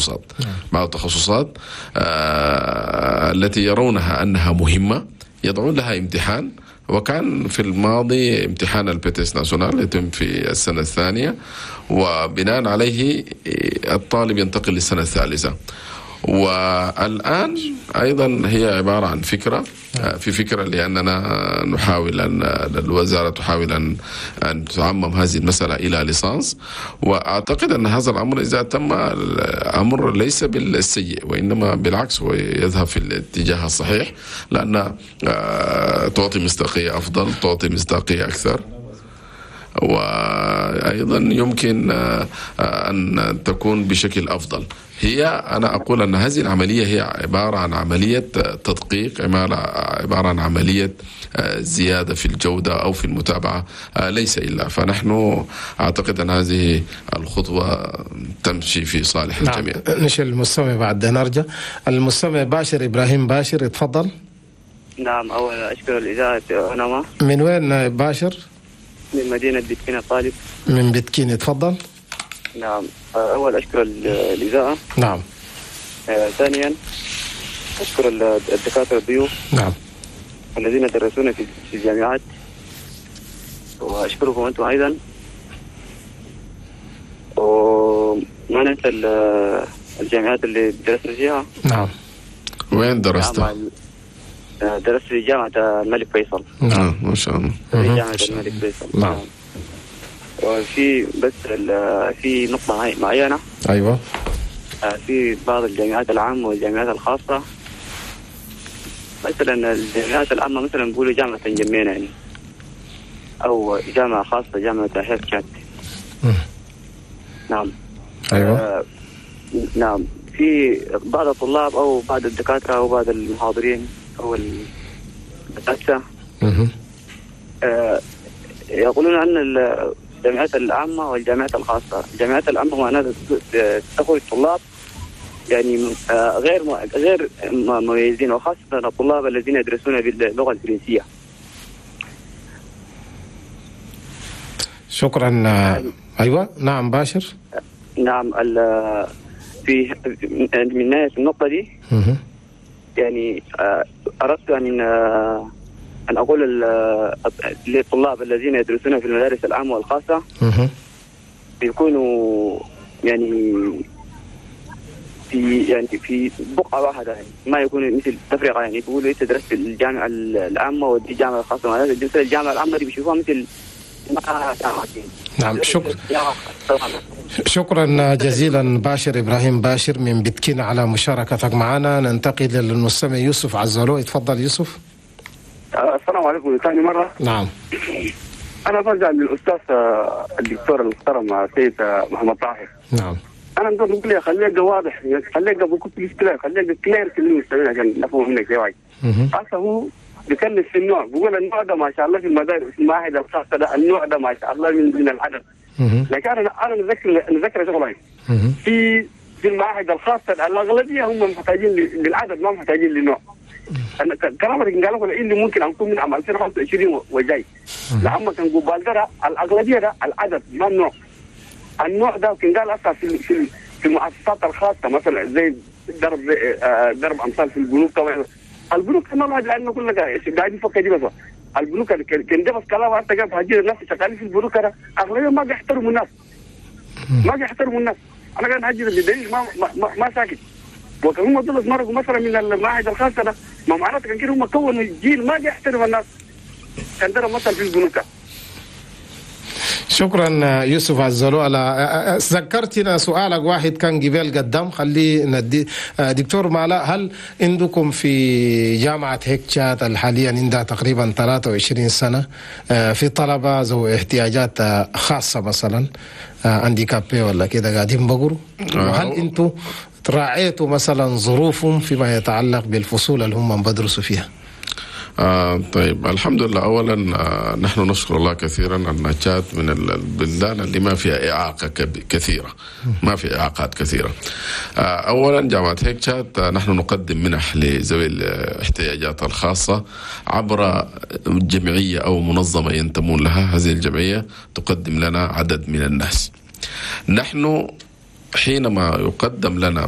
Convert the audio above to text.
التخصصات. بعض التخصصات التي يرونها أنها مهمة يضعون لها امتحان، وكان في الماضي امتحان ال BTS national يتم في السنة الثانية، وبناء عليه الطالب ينتقل للسنة الثالثة. والآن أيضا هي عبارة عن فكرة، في فكرة لأننا نحاول أن الوزارة تحاول أن تعمم هذه المسألة إلى licence، وأعتقد أن هذا الأمر إذا تم الأمر ليس بالسيء، وإنما بالعكس هو يذهب في الاتجاه الصحيح، لأن تعطي مصداقية أفضل، تعطي مصداقية أكثر، وأيضا يمكن أن تكون بشكل أفضل. هي أنا أقول أن هذه العملية هي عبارة عن عملية تدقيق، عبارة عن عملية زيادة في الجودة أو في المتابعة، ليس إلا. فنحن أعتقد أن هذه الخطوة تمشي في صالح الجميع. نشيل المستمع بعد نرجع. المستمع باشر إبراهيم باشر، اتفضل. نعم، أولا أشكر الإذاعة. أنا من وين باشر؟ من مدينة بتكين الطالب. من بتكين، اتفضل. نعم، أول أشكر الإذاعة. نعم. ثانيا أشكر الدكاترة الضيوف. نعم. الذين درسونا في الجامعات، وأشكركم أنتم أيضا. وما ننسى الجامعات اللي درسنا فيها. نعم. وين درست؟ نعم، درست في جامعة الملك فيصل. نعم، ما شاء الله. في جامعة الملك فيصل. نعم. وفي بس في نقطة معينة. أيوة. في بعض الجامعات العامة والجامعات الخاصة، مثلا الجامعات العامة مثلا بيقولوا جامعة جمينة يعني، أو جامعة خاصة جامعة هيرشات. نعم. أيوة. نعم، في بعض الطلاب أو بعض الدكاترة أو بعض المحاضرين أو الأساتذة يقولون أن الجامعات العامة والجامعات الخاصة، الجامعات العامة معناتها تخرج طلاب يعني غير مميزين، وخاصة الطلاب الذين يدرسون باللغة الفرنسية. شكرا. أيوة. نعم باشر. نعم، في من ناحية النقطة دي يعني أردت أن أقول للطلاب الذين يدرسون في المدارس العامة والخاصة بيكونوا يعني في بقعة واحدة، يعني ما يكون مثل تفرقة، يعني بيقولوا أنت درست في الجامعة العامة ودي الجامعة الخاصة، معناتها مثل الجامعة العامة دي بيشوفوها مثل. نعم، شكرا. شكرا جزيلا باشر إبراهيم باشر من بتكين على مشاركتك معنا. ننتقل للمستمع يوسف عزلو، اتفضل يوسف. السلام عليكم ثاني مرة. نعم. أنا برجع للأستاذ الدكتور المحترم السيد محمد طاهر. نعم. أنا نقول لك خليك واضح، خليك بكل clear، خليك clear كل المستمعين عشان نفهم منك يا واجد. أصلا هو بيكلم في النوع، بيقول النوع ده ما شاء الله في المدارس المعاهد الخاصة ده النوع ده ما شاء الله من العدد. لكن أنا نذكر شغلين في المعاهد الخاصة الأغلبية هم محتاجين للعدد، ما محتاجين للنوع. أنا كلامك قالوا اللي ممكن أنكون من عام 2025 وجاي، لأما كان قبال ده الأغلبية ده العدد ما النوع. النوع ده كان قال أصلا في المؤسسات الخاصة مثلا زي درب أمثال في البنوك. طبعا البنوك كان ما لأنه كل قاعد يفكر دي بس البنوك كان ده بس كلام أنت قاعد تهجير الناس شغالين في البنوك ده أغلبية ما بيحترموا الناس، ما بيحترموا الناس. أنا قاعد هجير بدليل ما ساكت. وكان هم دول مرقوا مثلا من المعاهد الخاصة ده ما معناته كان كده هم كونوا الجيل ما بيحترم الناس. كان ده مثلا في البنوك. شكرا يوسف عزلو على ذكرتنا سؤالك واحد كان قبل قدام، خليه ندي دكتور مالا. هل عندكم في جامعة هيكشات حاليا عندها تقريبا 23 سنة في طلبة ذو احتياجات خاصة مثلا handicapés ولا كده قاعدين بقروا؟ وهل انتم راعيتوا مثلا ظروفهم فيما يتعلق بالفصول اللي هم بدرسوا فيها؟ طيب الحمد لله. أولا نحن نشكر الله كثيرا أن تشاد من البلدان اللي ما فيها إعاقة كثيرة، ما في إعاقات كثيرة. أولا جامعة هيك تشاد نحن نقدم منح لذوي الاحتياجات الخاصة عبر جمعية أو منظمة ينتمون لها. هذه الجمعية تقدم لنا عدد من الناس. نحن حينما يقدم لنا